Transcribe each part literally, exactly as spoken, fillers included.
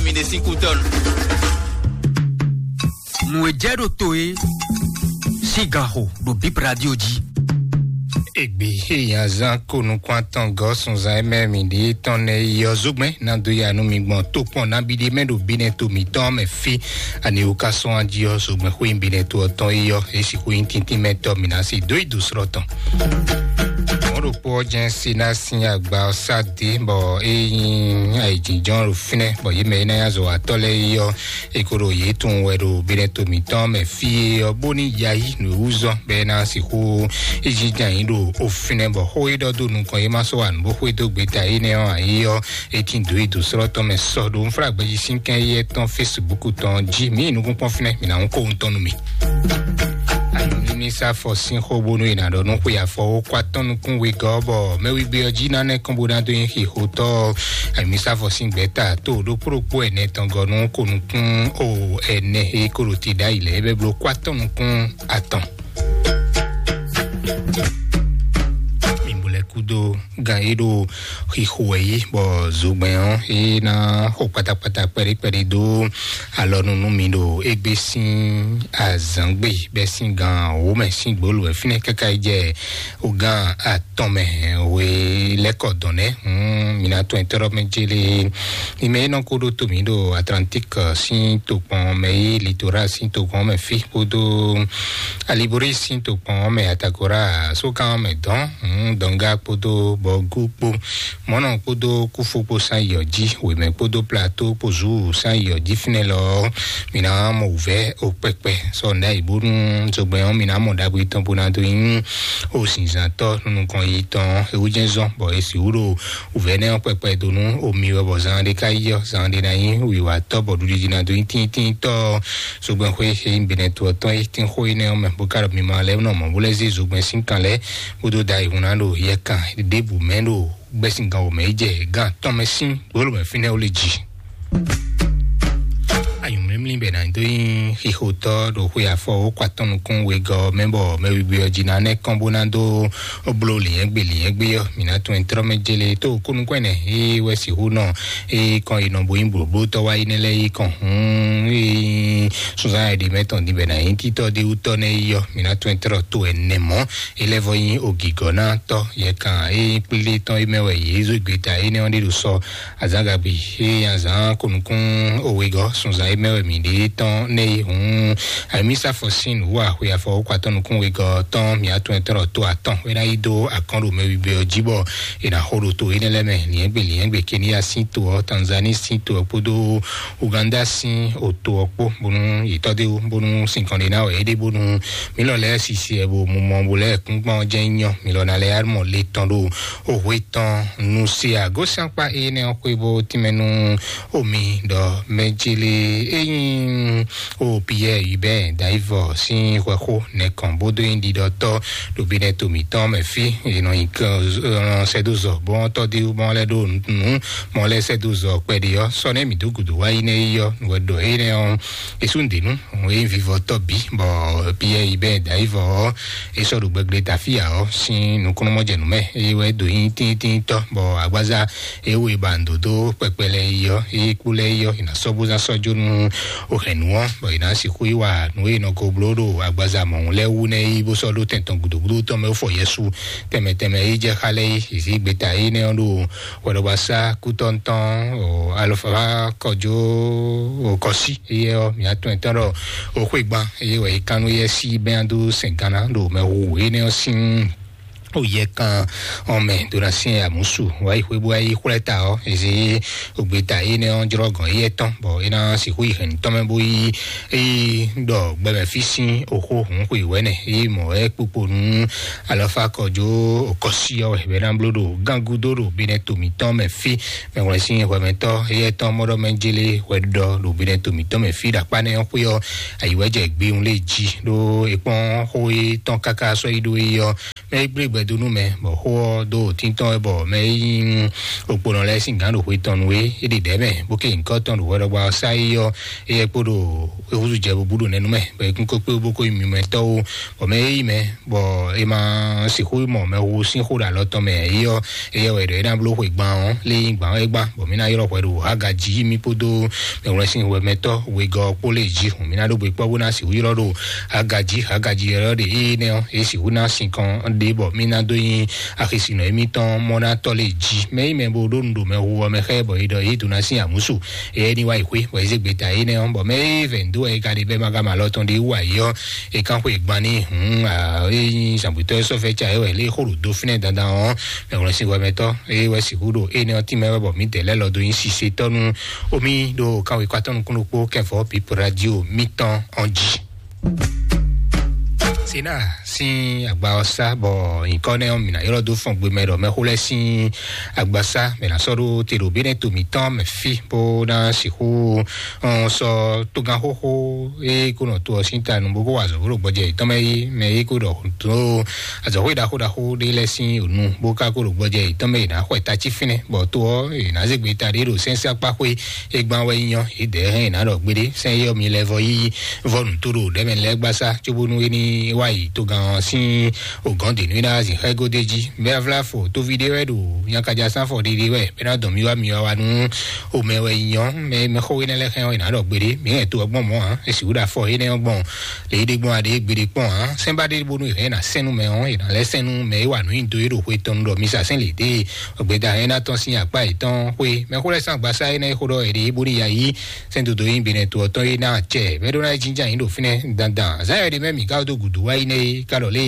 Mi ɖe sín kútɔ́nu. Nǔ e jɛ ɖo to e sín gan xo ɖo Bib Radio jí. Egbe eya zan ko nukun atɔn gɔ sunzan e mɛ mi ɖe tɔn nɛ yɔ zogbɛn na do ya nu mi gbɔn to kpɔn na bi ɖe mɛ ɖo bi nɛ to mi tɔn mɛ fi. Ani o ka sɔn aji ɔ zogbɛn xo yin bi nɛ to ɔtɔn e yɔ esi xo yin tintin mɛ tɔ mi na si do yi do srɔ tɔn. Mɔɖokpɔ jɛn si na sin agba ɔ sá dé bɔ e yin ayijijɔn ɖo fínɛ bɔ yě mɛ e ná ya zɔ atɔ lɛ yɔ e ko ɖo yě tun wɛ ɖo bi nɛ to mi tɔn mɛ fi e ɔ bó ní yayi nǔ wú zɔn bɛ ná sixú ejijɛ yín ɖo o fínɛ bɔ xó e ɖɔ dó nukɔn yé má sɔ́ wa nǔ bó xwedó gbeta énɛ́ ɔ́ ayé ɔ́, é tín dǒ yi dǒ srɔ́ tɔn mɛ sɔ ɖo nfúlágbɛ́jí sín kɛn yɛ tɔn Facebook tɔn jí mǐ nukúnkpɔ́n fínɛ́ mǐ ná hún kó ohun tɔn nú mi. Mínísá fɔ sín xó bónú è nǎ ɖɔ nú xwe afɔ ó kó atɔ́ nukún wegɔ́ bɔ mɛwígbé ɔ́ jí ná nɛ́ kɔn bó ná dó nyi xixotɔ́. Mínísá fɔ sín gbɛ̌ta tó ɖokpó ɖokpó ɛnɛ tɔn gɔ́ nú kó nukún o ɛnɛ e kó ɖo te ɖ'ayǐ lɛ́ɛ é bɛ́ bló kó atɔ́ nukún atɔn. Mi bo lɛ́ kúdó gan e ɖo xixo wɛ yí bɔ zogbɛn ɔ́ é ná xo kpatakpata kpɛɖé kpɛɖé dó alɔnu nú mi ɖo égbé sín azǎngbe bɛ́ sín gan wǒ mɛ sín gbolo wɛ fínɛ́ káká yi jɛ o gan atɔn mɛ we lɛ́kɔ dɔn nɛ́. Mi ná tɔn ɛtɔ́ɖɔ mɛ jélé. Mi mɛ e nɔ ko ɖó to mǐ ɖo Atlantique sín tokpɔn mɛ yí, Litoral sín tokpɔn mɛ fí kpódó Alibori sín tokpɔn mɛ, Atagora sókan mɛ dɔn, dɔnga kpódó bɔgú kpó, mɔnɔ kpódó kúfó kpó sán yɔ jí, wěmɛ kpódó plateau kpó zu sán yɔ jí fínɛ́ lɔ. Mi ná mɔ wǔvɛ́ o kpɛkpɛ sɔ nɖa yi bónú zogbɛn ɔ́ mi ná mɔ ɖagbe tɔn bó ná dó nyí o zinzantɔ nukɔn yi tɔn ewu jɛn zɔn bɔ esi wúɖo wǔvɛ́ nɛ́ ɔ́ kpɛkpɛ dó nú omi wɛ bɔ zan ɖé ká yi ɔ́ zan ɖé ná nyí wǐwatɔ́ bɔ ɖuɖiɖi ná dó nyí tíntínntɔ́. Zogbɛn xwé e nyí Benɛto ɔ́ tɔn é tín xó énɛ́ ɔ́ mɛ bó ká ɖɔ mi ma lɛ́ nɔ mɔ bó lɛ́ zé zogbɛn sín kan lɛ́ɛ bó dó da ayihun ná ɖo yɛ kan ɖěbǔ mɛ ɖo gbɛ́síngán wǒ mɛ yi jɛ gán tɔn mɛ sín gbolo mɛ fínɛ́ ó lé jí. Ayǔmlímlí bɛ ná dó nyí xixotɔ́ ɖo xwe afɔ ó kó atɔ́ nukún wegɔ́ mɛ bɔ mɛ wiwi ɔ́ jí ná nɛ́ kɔn bó ná dó bló lǐnyɛ́gbe lǐnyɛ́gbe ɔ́ mi ná tún ɛ trɔ́ mɛ jélé tó kónúkɔ́ ɛnɛ é wɛ sixú nɔ é kɔn yi nɔ bó nyí blǒblótɔ́ wá yi nɛ́ lɛ́ɛ yi kɔn hǔn é sunzán ɛɖě mɛ tɔn din bɛ ná nyí títɔ́ ɖé wútɔ́ nɛ́ yi ɔ́ mi ná tún ɛ trɔ́ tó ɛnɛ mɔ̌. Elevɔ yin ogigɔ na tɔ yɛ kan e kplé tɔn e mɛ wɛ yé zó gbeta énɛ́ ɔ́ ɖe ɖo sɔ azangagbe e azan konukun owegɔ sunzan e mɛ wɛ mi ɖe tɔn ne yi hun. Ami safɔ sin wa xwe afɔ wokɔ atɔn nukun wegɔ tɔn mi atɔn ɛtɔn to atɔn wena yi do akɔn ɖo mɛ wibe ɔ jí bɔ e na xo ɖo to énɛ́ lɛ mɛ liɛngbe liɛngbe Kenya sin to ɔ, Tanzanie sin to ɔ kpódó Uganda sin oto ɔ kpó bónú yětɔ́ dé wú bónú sinkɔn ɖé ná wɛ é ɖe bónú mí lɔ lɛ́ɛ sisi ɛ bo mu mɔ bo lɛ́ɛ kún gbɔn jɛ nyɔ mí lɔ ná lɛ́ɛ mɔ le tɔn ɖo o hwe tɔn nu se agosíankpa énɛ́ ɔ́ xwé bó tínmɛ nú omi ɖɔ mɛ jele é nyí o Pierre Hubert Daivɔ sín xwɛxó nɛkɔn bó dó nyí ɖiɖɔtɔ́ ɖo binɛ to mǐtɔn mɛ fí. È nɔ nyi sɛdozɔ bɔn tɔ́ dé bɔn lɛ́ ɖo nǔ mɔ lɛ́ sɛdozɔ kpɛɖé ɔ́ sɔ nɛ́ mǐ dó gǔdo wá yi nɛ́ yi ɔ́ nǔ wɛ ɖɔ énɛ́ ɔ́. Esú ŋdenu òun e vivɔ tɔ bi bɔ Pierre Hubert Daivɔ ɔ e sɔ ɖo gbɛgble tafia ɔ sin nukúnnú mɔjɛnu mɛ eye wɛ do yin tíntín tɔ bɔ agbaza e wo e ba ndo do kpɛkpɛ lɛ yi ɔ e kpó lɛ yi ɔ ina sɔ bó zan sɔ jó nu o hɛn nu ɔ bɔ ina sixú yi wa nu e nɔ ko blo ɖo agbaza mɔhun lɛ wu nɛ yi bó sɔ ɖo tɛntɔn gudogudo tɔ mɛ fɔ Yesu tɛmɛ tɛmɛ yi jɛ xa lɛ yi zi gbeta yi nɛ ɔ ɖo wɛɖɔgbasa kútɔntɔn o alɔfa kɔjó o kɔsi eye ɔ mia tɔn ɛtɔn ɖɔ o xwegban eye wɛ yi kanu yɛ si bɛn do sɛn gana ɖo mɛ wu ene ɔ sin o yɛ kan ɔn mɛ do na sin amusu wa yi xwe bo yi xwlɛ ta ɔ ezi o gbeta ene ɔ jrɔ gɔn yɛ tɔn bɔ ena si xo yi hɛn tɔn mɛ bo yi eyi ɖɔ gbɛmɛ fi sin o xo hun xwe wɛ nɛ eyi mɔ ɛ kpokpo nu alɔfa kɔjó o kɔsi ɔ wɛ bɛ na blo ɖo gangudo ɖo bi nɛ to mitɔn mɛ fi. Mɛwlɛsin hwɛmɛtɔ eyɛ tɔn mɔɖɔ mɛ jele hwɛ ɖɔ ɖo binɛ to mǐtɔn mɛ fi ɖo akpa nɛ ɔ́ xwé ɔ́ ayiwɛjɛ gbeun lé jí ɖó ekpɔn xó e tɔn káká sɔ́ yi ɖó é ɔ́ mɛ e gblé gbɛdó nú mɛ, bɔ xó ɔ́ dó títɔn wɛ, bɔ mɛ e nyí okponɔ lɛ́ɛ sín gǎn ɖo xwe tɔn nu é, é ɖe ɖɛ̌ mɛ, bó ké nyǐkɔ tɔn ɖo hwɛɖɔgba ɔ́ sá é ɔ́, éyɛ́ kpó ɖo é húzú jɛ bó bú ɖo nɛnú mɛ, bɔ é kún kó kpé bó kó nyí mimɛtɔ́ ó, bɔ mɛ e nyí mɛ, bɔ è ma sixú mɔ mɛhu sín xó ɖo alɔ tɔn mɛ é ɔ́, éyɛ́ wɛ ɖɔ é ná bló xwe gban ɔ́, lé nyí gban ɔ́ é gban, bɔ mǐ ná ylɔ́ hwɛ ɖo Hagaji mì kpódó mɛwlɛ́sín hwɛmɛtɔ́ wegɔ́ ɔ́ kpó lě jí hǔn. Mǐ ná ɖó gbe kpɔ́ bó ná sixú ylɔ́ ɖo Hagaji, Hagaji ylɔ́ ɖe énɛ́ ɔ́, é sixú ná sinkɔn ɖé bɔ mí ná dó nyí axisinɔ émítɔn mɔ ná tɔ́ lě jí. Mɛ nyí mɛ bo ɖó nu ɖo mɛhu ɔ́ mɛ xá ɛ bɔ é ɖɔ é dó ná sín amǔsu, éyɛ́ ní wá yi xwé, bɔ é zé gbeta énɛ́ ɔ́, bɔ mɛ e vɛ̌ dó wɛ é ka ɖe bɛ́ ma ka ma lɔ tɔn ɖé wú ayǐ ɔ́, é kán xwe gban ní hǔn, é nyí zǎngbetɔ́ e sɔ́ fɛ́ ca é wɛ lé xó ɖo dó fínɛ́ dandan ɔ́, mɛ wlɛ́sín hwɛmɛtɔ́ é wɛ sixú ɖo énɛ́ ɔ́ tínmɛ wɛ bɔ mǐdɛɛ lɛ́ lɔ dó nyí sisetɔ́ nú omi ɖo kanwekɔ atɔ́ nukún ɖokpó kɛfɔ Bip Radio mítɔn ɔ́ jí. Sena sín agba ɔ́ sá bɔ nyǐkɔ nɛ́ ɔ́, mǐ ná ylɔ́ dó fɔn gbe mɛ ɖɔ mɛxó lɛ́ɛ sín agba sá mɛ ná sɔ́ ɖó te ɖo bénɛ́ to mǐtɔn mɛ fí bó ná sixú sɔ́ tógán xóxó e kó nɔ to ɔ́ sín ta nu bó kó wa azɔ̌ bó ɖo gbɔjɛ yětɔn mɛ yí mɛ e kó ɖɔ dó azɔ̌xwé ɖaxó ɖaxó ɖé lɛ́ɛ sín ònu bó ka kó ɖo gbɔjɛ yětɔn mɛ yě ná xɔ ta cí fínɛ́, bɔ to ɔ́ yě ná zé gbeta ɖé ɖo sɛ́nsɛ́ akpá xwé e gbán wɛ nyí ɔ́, yě dɛ̌ hɛn yě ná ɖɔ gbeɖé sɛ́n éyɔ́ mi lɛ́ vɔ yí vɔ nǔ tó ɖo ɖɛ̌mɛ lɛ́ɛ gbasá cóbónú é ní wá yi togán ɔ́ sín ògɔ́n dě nú é ná zǐn xá égó d'é jí. Mɛ avláfo tóví ɖé wɛ ɖo nyakaja sánfɔ ɖiɖi wɛ bɛ́ ná dɔn mì wá mi wá wá nú omɛ wɛ nyí ɔ́, mɛ mɛxó énɛ́ lɛ́ɛ xɛn ɔ́, è nǎ ɖɔ gbeɖé, mǐ hɛn to ɔ́ gbɔn mɔ̌ ǎ, è sixú ɖo afɔ énɛ́ ɔ́ gbɔn lě é ɖe gbɔn aɖě gbeɖé kpɔ́n ǎ. Sɛ́n ba ɖé bónú è hɛn ná sɛn nú mɛ ɔ́, è nǎ lɛ́ sɛn nú mɛ e wa nǔ nyi dó é ɖo xwe tɔn nu ɖɔ mi sa sɛ́n lě dé gbeda hɛn ná tɔn sín akpá yětɔn xwé. Mɛxó lɛ́ɛ sín agbasá énɛ́ e xó ɖɔ è ɖe é bónú ya yí sɛ́n dodó nyi benɛ to ɔ́ tɔn é ná acɛ. Mɛ ɖó ná é jínjɔ́n ayǐ ɖo fínɛ́ dandan. Zǎn ɛ ɖe mɛ mǐ ka dó gǔdo wá yi nɛ́ é ka ɖɔ lé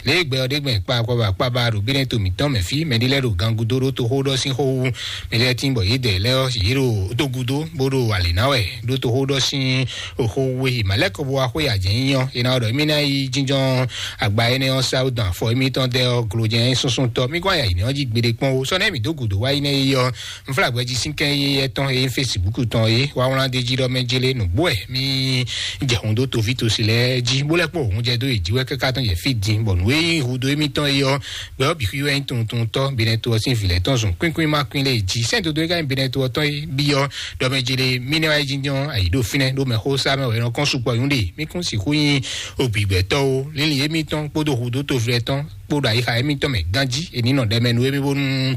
lě e gbɛ ɔ́ ɖe gbɛn kpa akɔba kpaba ɖo bénɛ́ to mǐtɔn mɛ fí, mɛ ɖé lɛ́ɛ ɖo gangudo ɖó toxó ɖɔ sín xó wú, mɛ lɛ́ɛ tín bɔ yě dɛ lɛ́ɛ ɔ́ yě ɖo dó gúdo bó ɖo alě ná wɛ ɖó toxó ɖɔ sín xó wú é. Mǎ lɛ́ kɔ bó wá xwé ajɛ̌ nyí ɔ́, é ná ɖɔ émí ná yi jínjɔ́n agba énɛ́ ɔ́ sá dɔn afɔ émítɔn dɛ́ ɔ́ glojɛ́n súnsún tɔ́. Mí kɔn aya yě ní ɔ́ jí gbeɖé kpɔ́n ó. Sɔ́ nɛ́ mǐ dó gǔdo wá yi nɛ́ é ɔ́, un flá gbɛjí sín kɛ́n yéyɛ́ tɔn e nyí Facebook tɔn é wá wlán d'é jí ɖɔ mɛ jélé nǔgbó wɛ mí jɛ hun dó toví tosi lɛ́ɛ jí, bó lɛ́ kpó òun jɛ dó yě jí wɛ káká tɔn jɛ fí din, bɔ nǔ e nyí hudo émítɔn é ɔ́, gbɛ ɔ́ bǐ xwí wɛ nyí tuntunutɔ́ Benɛto ɔ́ sín vǐ lɛ́ɛ tɔn zun kwín kwín má kwín lé jí. Sɛ́n dodó é ka nyí Benɛto ɔ́ tɔn é byɔ́ ɖɔ mɛ jélé mí nɛ́ wá yi jínjɔ́n ayǐ ɖo fínɛ́ ɖó mɛxó sá mɛ wɛ nɔ kɔn sukpɔ nyú ɖe. Mí kún sixú nyí ògbǐgbɛtɔ́ ó. Lílí émítɔn kpódó hudo toví lɛ́ɛ tɔn kpódó ayixa émítɔn mɛ ganjí è ní nɔ ɖɛ mɛ nú émí bónú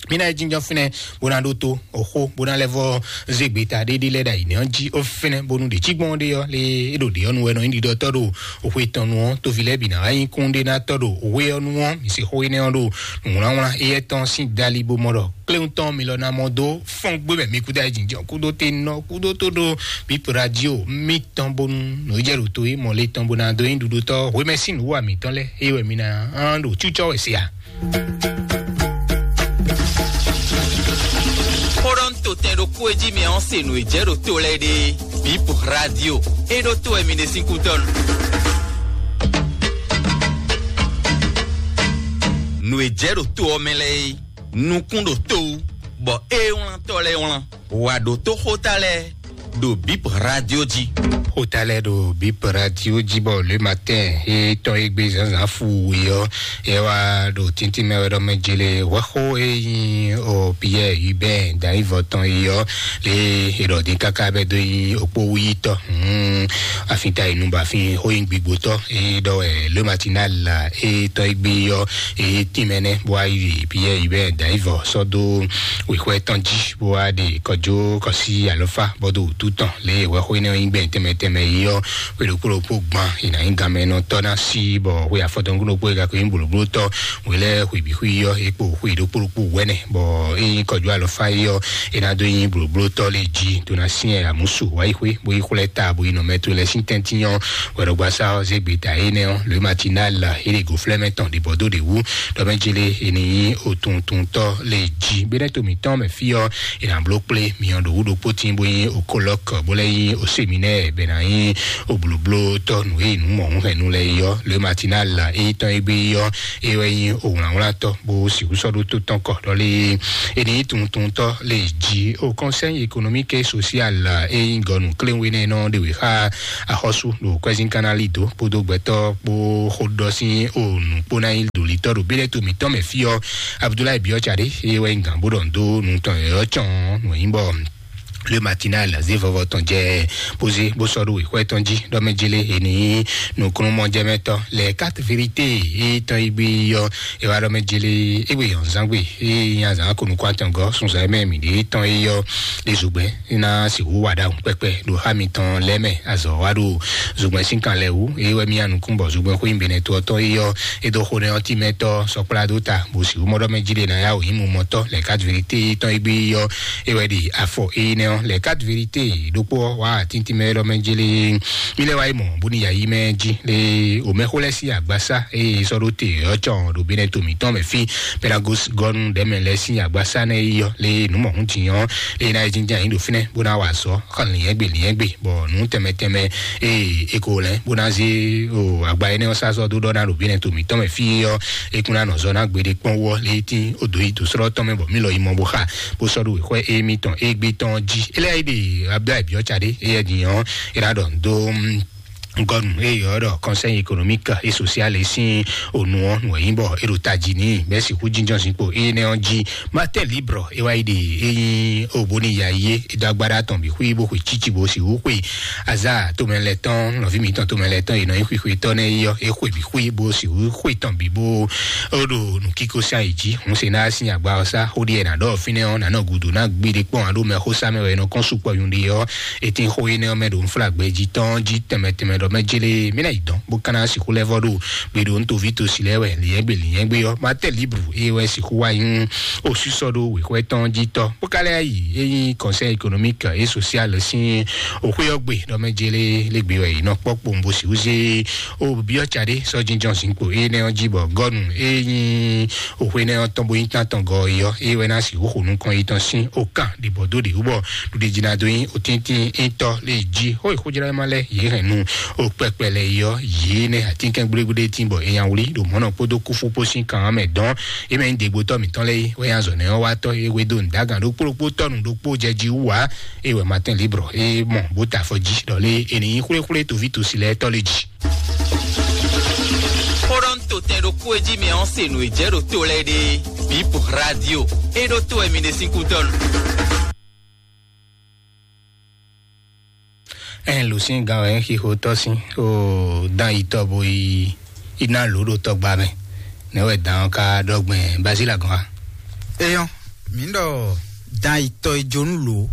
mí ná yi jínjɔ́n fínɛ́ bó ná ɖótó oxó bó ná lɛ́ vɔ zé gbeta ɖéɖé lɛ́ɛ ɖo ayǐ nɛ́ ɔ́ jí ó fínɛ́ bónú ɖě cí gbɔn ɖé ɔ́ lé é ɖo ɖě ɔ́ nu wɛ nɔ nyí ɖiɖɔtɔ́ ɖo oxwe tɔn nu ɔ́, toví lɛ́ɛ bǐ ná wá nyí kún ɖé ná tɔ́ ɖo oxwe ɔ́ nu ɔ́, mǐ se xó énɛ́ ɔ́ ɖo nǔwlánwlán éyɛ́ tɔn sín dali bó mɔ ɖɔ kléwún tɔn mi lɔ ná mɔ dó fɔ́n gbé mɛ mi kúdó ayé jǐnjɔ́n kúdó te nɔ kúdó tó ɖó Bip Radio mítɔn bónú nǔ jɛ ɖo to é mɔ lé tɔn bó ná dó nyí ɖuɖotɔ́ hwemɛ sín nǔwú amǐtɔn lɛ́ɛ é wɛ mi ná ɖo cúcɔ́ wɛ se a. Xóɖɔ́ntotɛn ɖokpó e jí mi ɔ́ se nǔ e jɛ ɖo to lɛ́ɛ ɖe Bip Radio. É ɖó to wɛ mi ɖe sín kútɔ́ nu. Nǔ e jɛ ɖo to ɔ́ mɛ lɛ́ɛ é, nukún ɖo to wú, bɔ é wlántɔ́ lɛ́ɛ wlán. Wǎ ɖótó xóta lɛ́ɛ ɖo Bip Radio jí. Xóta lɛ́ɛ ɖo Bip Radio jí bɔ le matin é tɔn é gbé zǎnzǎn fu we ɔ́, é wá ɖo tíntín mɛ wɛ ɖɔ mɛ jele hwɛxó é nyí o Pierre Hubert Dayivɔ tɔn é ɔ́, lé é ɖɔ dín káká bɛ dó nyí okpó wúyítɔ́. Hmm, afin ta yi nu ba afin xó nyí gbigbotɔ́ é ɖɔ wɛ le matinal é tɔn é gbé ɔ́ é tínmɛ nɛ́ bó wá yi Pierre Hubert Dayivɔ sɔ́ dó wěxwɛ́ tɔn jí bó wá ɖe kɔjó kɔsí alɔfá bɔ ɖo wútu tɔn lě e hwɛxó énɛ́ ɔ́ nyí gbɛn tɛnmɛ tɛnmɛ yi ɔ́, xwe ɖokpó ɖokpó gban è nǎ nyí ganmɛnɔtɔ́ ná sí bɔ xwe afɔtɔn ɖokpó ɖokpó e ka ko nyí blǒblótɔ́ wě lɛ́ɛ xwe bǐ xwí ɔ́ é kpo xwe ɖokpó ɖokpó wɛnɛ bɔ é nyí kɔjó alɔfá yi ɔ́ é ná dó nyí blǒblótɔ́ lě jí tó ná syɛ́n amǔsu wá yi xwé bó yi xwlɛ́ ta bó yi nɔ mɛ to lɛ́ɛ sín tɛ́ntin ɔ́. Hwɛɖɔgbasá ɔ́ zé gbeta énɛ́ ɔ́, Le Matinal é ɖe gǒflɛ́mɛ tɔn ɖě bɔ dó ɖě wú ɖɔ mɛ jélé è nǐ nyí otuntuntɔ́ lě jí. Bɛ́nɛ́ to mǐtɔn mɛ fí ɔ́, è nǎ bló kplé myɔ ɖo wú ɖokpó tín bó nyí okolɔ́kɔ bó lɛ́ nyí oseminɛ́ɛ bɛ́ Nyi obloblo tɔ nǔ e nǔ mɔ̌hunhɛnnu lɛ yɔ le matinal la e tɔn e gbe yɔ e wɛ nyi owlawlatɔ bó sixú sɔ́ ɖó tó tɔn kɔ ɖɔlé e ní tuntuntɔ le jí o conseil économique et social e nyi gɔnu kléwé nɛ nɔ ɖe wě xa axɔ́sú ɖo kwɛzín kanali dó kpódó gbɛtɔ́ kpó xóɖɔ sín o nǔ kpó ná nyi ɖolitɔ ɖo bílẹ̀ tó mǐtɔn mɛ fí ɔ. Abudulayi biɔ tsa ɖé e wɛ nyi gǎn bó ɖɔ nǔ dó nǔ tɔn yɔyɔ cɔn nǔ e nyí bɔ le matinal zé vɔvɔ tɔn jɛ bózé bó sɔ́ ɖó wěxwɛ tɔn jí ɖɔ mɛ jele ènì nukúnnú mɔjɛmɛtɔ lɛ quatre vérité e tɔn yi gbé yɔ e wá ɖɔ mɛ jele e wé yɔn zán gbé e nya zán ko nukún atɔn gɔ sunzan mɛ mi ɖe tɔn e yɔ ɖe zogbɛ ná sixú wa ɖahun kpɛkpɛ ɖo xá mitɔn lɛ mɛ azɔ wá ɖo zogbɛ sín kan lɛ wú e wɛ mi anukún bɔ zogbɛ xó yin benɛ to ɔtɔn e yɔ e dó xó nɛ ɔtí mɛ tɔ sɔkplá dó ta bó sixú mɔɖɔ mɛ jí ɖe ná yá wò yín mu mɔtɔ lɛ quatre vérité e tɔn e gbé yɔ e wɛ ɖi afɔ éyinɛ ɔ́ lɛ quatre vérité ɖokpó ɔ́ wá tíntín mɛ lɔ mɛ jélé. Mi lɛ wá yi mɔ bóni yayí mɛ jí lé omɛxó lɛ sí agbásá eye sɔ́ ɖó te ɔ́ cɔn ɖo bínɛ to mǐtɔn mɛ fí pédagos gɔnu ɖɛmɛ lɛ sí agbásá nɛ yɔ lé nǔ mɔ̌hún jǐnyɔ́ lé ná yi jínjɛ́n ayǐ ɖo fínɛ́ bó ná wa azɔ̌ xɔ lǐnyɛ́gbe lǐnyɛ́gbe bɔ nǔ tɛnmɛ tɛnmɛ eye e ko lɛ́ bó ná zé o agba énɛ́ ɔ́ sá sɔ́ dó ɖɔ ná ɖo bínɛ to mǐtɔn mɛ fí ɔ́ e kún ná nɔ zɔ ná gbeɖé kpɔ́n wú ɔ́ lé tín o dǒ yi dǒ srɔ́ tɔn mɛ bɔ mí lɔ yi mɔ bó xa bó sɔ́ ɖó wěxwɛ émítɔn égbé tɔn jí. Éliáyíɖe Abdulayi Biɔ́ca ɖé éyɛ́ din ɔ́ é ná ɖɔ dó gɔnu eye ɔ́ ɖɔ conseil économique et social e sín onu ɔ́ nǔ e nyí bɔ é ɖo tají n'i bɛ́ sixú jínjɔ́n zinkpo énɛ́ ɔ́ jí. Martin Libre é wá yi ɖe é nyí o bóni ya yé é dó agbára tɔn bǐ xwí bó xwe cíci bó sixú xwe azá tomɛ lɛ tɔn nɔví mǐtɔn tomɛ lɛ tɔn e nɔ nyí xwixwetɔ́ nɛ́ é ɔ́ é xwe bǐ xwí bó sixú xwe tɔn bǐ bó ó ɖo nǔkíkó sá yi jí. Hǔn se ná sín agba ɔ́ sá xó ɖíe ná ɖɔ fínɛ́ ɔ́ ná nɔ gǔdo ná gbiɖe kpɔ́n aɖó mɛ xó sá mɛ wɛ è nɔ kɔn sukpɔ nyuɖe ɔ́. Etɛ́n xó énɛ́ ɔ́ mɛ ɖo nflágbɛ jí tɔn jí tɛnmɛ tɛnmɛ ɖɔ mɛ jélé mí ná yi dɔn bó ka ná sixú lɛ́ vɔ ɖo gbe ɖo ntoví tosi lɛ́ wɛ lǐnyɛ́gbe lǐnyɛ́gbe ɔ́. Martin Libre é wɛ sixú wá nyí osísɔ ɖó wěxwɛ tɔn jí tɔn bó ka lɛ́ yi é nyí conseil économique et social sín òxwé ɔ́ gbe ɖɔ mɛ jélé lé gbe wɛ yi nɔ kpɔ́ kpowun bó sixú zé o biɔ tsa ɖé sɔ́ jínjɔ́n zinkpo énɛ́ ɔ́ jí bɔ gɔnu é nyí òxwé nɛ ɔ́ tɔn bó nyí tán tɔn gɔ é ɔ́ é wɛ ná sixú xo nukɔn yi tɔn sín o kan ɖibɔ dó ɖě wú bɔ ɖuɖe jí ná dó nyí o tíntín étɔ lé jí xó e xójlá ma lɛ yě hɛn nu o kpɛkpɛ lɛ yi ɔ́ yě nɛ atínkɛn gblégblédé tín bɔ é nya wlí ɖo mɔ̌ nɔ kpódó kúfú kpó sín kan ɔ́ mɛ dɔn é mɛ nyí degbotɔ mǐtɔn lɛ é wɛ nya zɔ nɛ ɔ́ wá tɔ é wé dó nǔdágan ɖokpó ɖokpó tɔnu ɖokpó jɛ jí wú wá é wɛ Martin Libre é mɔ bó ta afɔ jí ɖɔ lé é ní nyí xwléxwlé toví tosi lɛ tɔ lé jí. Xó ɖɔ ń to tɛn ɖokpó e jí mi ɔ́ se nǔ e jɛ ɖo to lɛ́ɛ ɖe. Bip radio. É ɖó to wɛ mi ɖe sín kútɔ́nu. Ɛn lǒ sín gán wɛ ń xixo tɔ́ sín o dán yi tɔ bo yi iná lǒ ɖo tɔgba mɛ. Nɛ̌ wɛ dán ɔ́ ka ɖɔ gbɛn Bazíla gɔ́n a? Eyɔn, mǐ ɖɔ dán yi tɔ yi jó nú lǒ.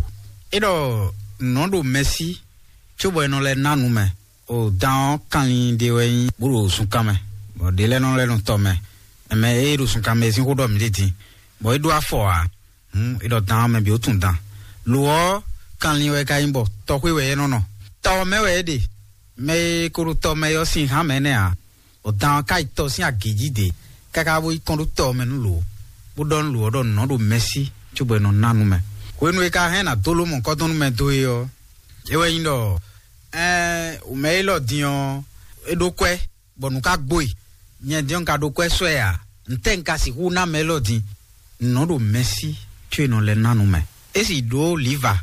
É ɖɔ nǔ nɔ ɖo mɛsí cóbɔ è nɔ lɛ́ ná nǔ mɛ. O dán ɔ́ kanlin ɖé wɛ nyí bó ɖo zunkan mɛ, bɔ ɖě lɛ́ɛ nɔ lɛ́ nɔ tɔ mɛ. Ɛmɛ e ɖo zunkan mɛ e sín xó ɖɔ mǐ ɖe din, bɔ é ɖó afɔ ǎ. Hǔn é ɖɔ dán ɔ́ mɛ bǐ ó tunwun dan. Lo ɔ́, kanlin wɛ ka nyí bɔ tɔxwé wɛ é nɔ nɔ. Tɔ ɔ́ mɛ wɛ é ɖe. Mɛ e ko ɖo tɔ mɛ é ɔ́ sín hǎn mɛ nɛ́ ǎ. Bɔ dan ɔ́ ka yi tɔ sín agě jí ɖě, káká bó yi kɔn ɖó tɔ ɔ́ mɛ nú lo, bó ɖɔ nú lo ɔ́ ɖɔ nǔ nɔ ɖo mɛsí cóbɔ è nɔ ná nú mɛ. Hwenu e ka hɛn ná dó ló mɔ̌kɔ́dɔ́nú mɛ dó é ɔ́, é wɛ nyí ɖɔ ɛɛ mɛ élɔ́ din ɔ́, é ɖó kwɛ́, bɔ nǔ ka gbo e. Nyɛ din ɔ́, un ka ɖó kwɛ́ sɔ́ ɛ ǎ. Ntɛ́ un ka sixú ná mɛ élɔ́ din? Nǔ nɔ ɖo mɛsí có è nɔ lɛ́ ná nú mɛ. É sì ɖó lǐva,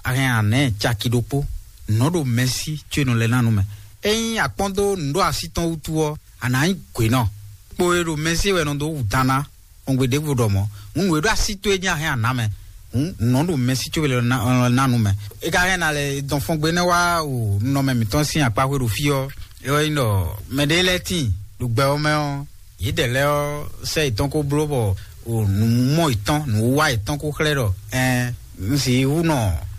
a hɛn anɛ̌ caki ɖokpó. Nǔ nɔ ɖo mɛsí có è nɔ lɛ́ ná nú mɛ. Ényí a kpɔ́n dó nǔ ɖo así tɔn wútu ɔ́, a nǎ nyí gwě nɔ. Kpo e ɖo mɛsí wɛ nɔ dó wú dan ná. Xɔngbe ɖěvo ɖɔ mɔ̌, nǔ e ɖo así towe jí a hɛn a nǎ mɛ. Hǔn nǔ nɔ ɖo mɛsí có è nɔ lɛ́ ná nú mɛ. É ka hɛn ná lɛ dɔn fɔngbe nɛ́ wá o nunɔmɛ mǐtɔn sín akpáxwé ɖo fí ɔ́, é wɛ nyí ɖɔ mɛɖé lɛ́ɛ tíin ɖo gbɛ ɔ́ mɛ ɔ́, yědɛɛ lɛ́ɛ ɔ́ sɛ́ yětɔn kó bló bɔ o nǔmɔ yětɔn nǔwiwa yětɔn kó xlɛ́ ɖɔ ɛɛ un sì wú nɔ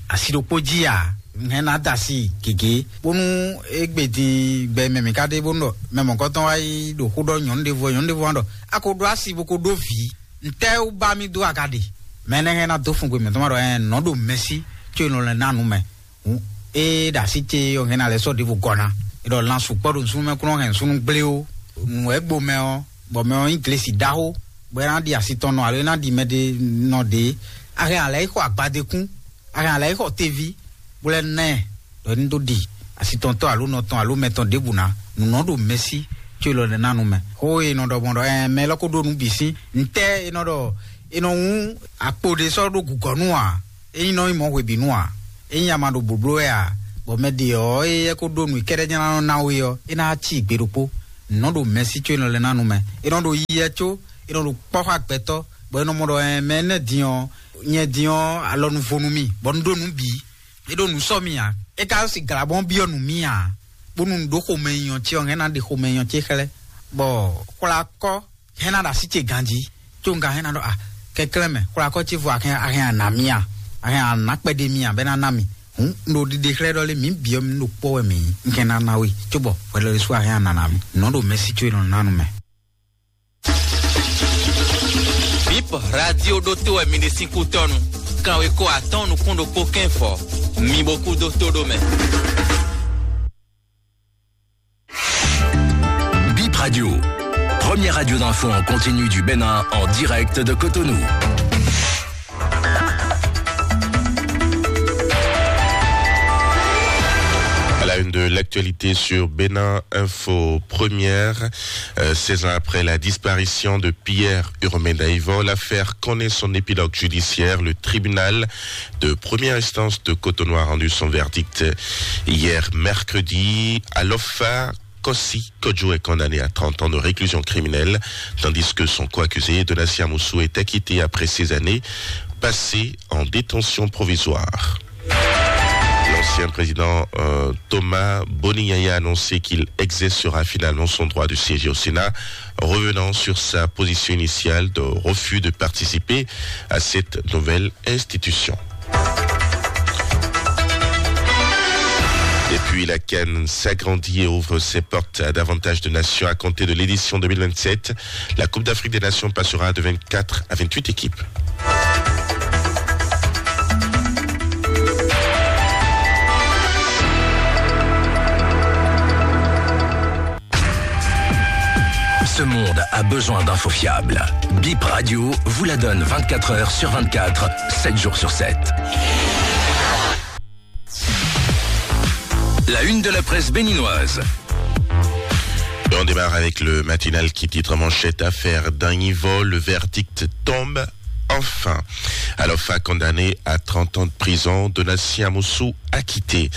asi ɖokpó jí ǎ. Un hɛn ná da asi gěgé bónú égbé din gbɛ mɛ mǐ ka ɖe bónú ɖɔ mɛ mɔ̌kɔtɔn wá yi ɖo xó ɖɔ nyɔ̌nu ɖěvo, nyɔ̌nu ɖěvo wá ɖɔ a ko ɖó asi bó ko ɖó vǐ. Ntɛ́ wú bá mì dó a ka ɖe? Mɛ énɛ́ hɛn ná dó fun gbe mǐtɔn ma ɖɔ ɛɛ nɔ̌ ɖo mɛsí có è nɔ lɛ́ ná nǔ mɛ. Hǔn é ɖo así ce ɔ́ hɛn ná lɛ́ sɔ́ ɖěvo gɔ́ ná. É ɖɔ lan sukpɔ́ ɖo nǔsúnnú mɛ kún nɔ hɛn súnnu gblé ó. Nǔ wɛ gbo mɛ ɔ́, bɔ mɛ ɔ́ nyí glesi ɖaxó, bɔ é ná ɖi asi tɔn nɔ alo é ná ɖi mɛ ɖé nɔ ɖě. A hɛn alɛ yi xɔ agbadékún, a hɛn alɛ yi xɔ teví, bó lɛ́ ná ɛ ɖɔ é ní dó ɖi. asitɔntɔ́ alo nɔtɔn alo mɛtɔn ɖěbǔ ná, nǔ nɔ ɖo mɛsí có élɔ́ lɛ́ɛ ná nu mɛ. Xó e nɔ ɖɔ gbɔn ɖɔ ɛ mɛ élɔ́ ko ɖó nǔ bǐ sín ntɛ́ e nɔ ɖɔ e nɔ hú akpo ɖé sɔ́ ɖó gǔgɔ́ nu ǎ, é nyí nɔ nyí mɔ̌ hwebǐnu ǎ, é nyí ama ɖo blǒbló wɛ ǎ, bɔ mɛ ɖě ɔ́ e é ko ɖó nǔ kɛ́ɖɛ́ jɛ́n ná nɔ ná we ɔ́, é ná cí gbe ɖokpó. Nǔ nɔ ɖo mɛsí có élɔ́ lɛ́ɛ ná nu mɛ. É nɔ ɖo yiyɛ có é nɔ ɖo kpɔ́ xá gbɛtɔ́, bɔ é nɔ mɔ ɖɔ ɛ mɛ énɛ́ din ɔ́, nyɛ din ɔ́ alɔ nu vo nú mì, bɔ un ɖó nǔ bǐ. É ɖo nǔ sɔ́ mì ǎ. É ka si glǎ bɔ un byɔ́ nǔ mì ǎ, bónú un ɖó xomɛ nyɔ ce ɔ́, hɛn ná ɖe xomɛ nyɔ ce xlɛ́, bɔ xwlá kɔ́ hɛn ná ɖo así ce ganjí, có un ka hɛn ná ɖɔ a kɛnklɛ́n mɛ, xwlá kɔ́ ce vo ahɛn ahɛn ana mì a, ahɛn ana kpɛɖé mì a, bɛ ná ná mì. Hǔn un ɖo ɖiɖe xlɛ́ ɖɔ lé, mǐ byɔ́ mì ɖo kpɔ́ wɛ mǐ nyí, un kɛn ná ná we, cóbɔ hwɛɖɔɖésú ahɛn ana ná mì. Nǔ nɔ ɖo mɛsí có élɔ́ ná nu mɛ. Bip radio ɖótó wɛ mi ɖe sín kútɔ́nu. Kanwekó atɔ́ɔ́n nukún ɖokpó kɛ́n fɔ. Mi bo kú dó tó ɖó mɛ. Bip Radio, première radio d'info en continu du Bénin en direct de Cotonou. À la une de l'actualité sur Bénin Info Première, euh, seize ans après la disparition de Pierre Urmé Daïvo, l'affaire connaît son épilogue judiciaire. Le tribunal de première instance de Cotonou a rendu son verdict hier mercredi. Alofa Kossi Kodjo est condamné à trente ans de réclusion criminelle, tandis que son co-accusé, Donatien Amoussou, est acquitté après ces années passées en détention provisoire. L'ancien président, euh, Thomas Boni Yaya a annoncé qu'il exercera finalement son droit de siéger au Sénat, revenant sur sa position initiale de refus de participer à cette nouvelle institution. Et puis la CAN s'agrandit et ouvre ses portes à davantage de nations à compter de l'édition deux mille vingt-sept. La Coupe d'Afrique des Nations passera de vingt-quatre à vingt-huit équipes. Ce monde a besoin d'infos fiables. Bip Radio vous la donne vingt-quatre heures sur vingt-quatre, sept jours sur sept. La une de la presse béninoise. Et on démarre avec le matinal qui titre en manchette: Affaire Daïvo, le verdict tombe enfin. Alofa condamné à trente ans de prison, Donatien Amoussou acquitté.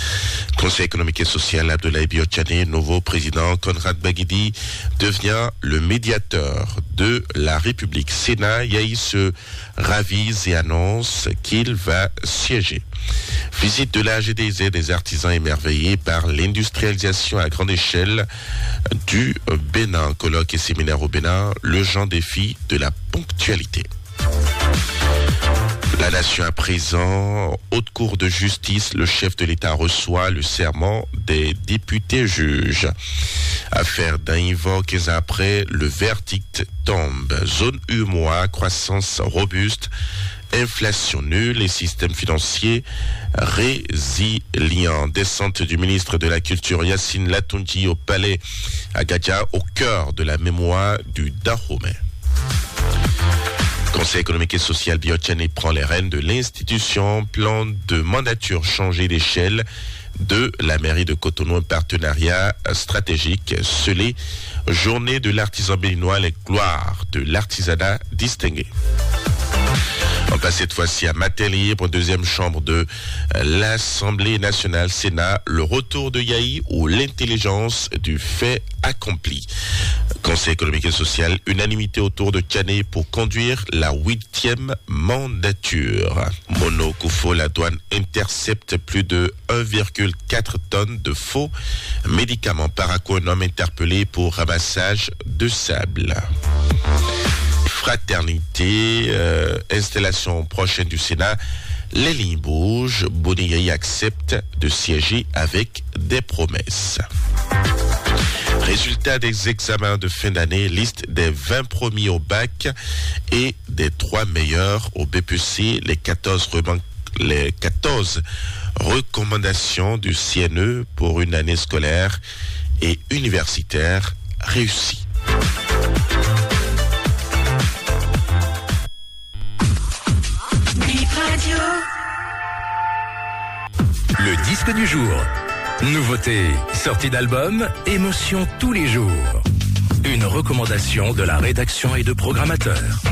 Conseil économique et social, Abdoulaye Biotchané, nouveau président, Conrad Baguidi devient le médiateur de la République. Sénat, Yayi se ravise et annonce qu'il va siéger. Visite de la G D Z, des artisans émerveillés par l'industrialisation à grande échelle du Bénin. Colloque et séminaire au Bénin, le grand défi de la ponctualité. La Nation à présent, Haute Cour de justice, le chef de l'État reçoit le serment des députés juges. Affaire Daïvo, quinze ans après, le verdict tombe. Zone U M O A, croissance robuste, inflation nulle et système financier résilient. Descente du ministre de la Culture Yacine Latunji au palais à Gadia, au cœur de la mémoire du Dahomey. Conseil économique et social, Biotchané prend les rênes de l'institution. Plan de mandature changé d'échelle de la mairie de Cotonou, un partenariat stratégique scellé. Journée de l'artisan béninois, les gloires de l'artisanat distingué. On passe cette fois-ci à Matin Libre, deuxième chambre de, euh, l'Assemblée nationale, Sénat, le retour de Yayi ou l'intelligence du fait accompli. Conseil économique et social, unanimité autour de Tchané pour conduire la huitième mandature. Mono Koufo, la douane intercepte plus de un virgule quatre tonnes de faux médicaments. Parakou, un homme interpellé pour ramassage de sable. Fraternité, euh, installation prochaine du Sénat. Les lignes bougent. Boni Yayi accepte de siéger avec des promesses. Résultat des examens de fin d'année, liste des vingt premiers au bac et des trois meilleurs au B P C, les quatorze reman-, les quatorze recommandations du C N E pour une année scolaire et universitaire réussie. Bip Radio. Le disque du jour. Nouveauté, sortie d'album, émotion tous les jours. Une recommandation de la rédaction et de programmateurs.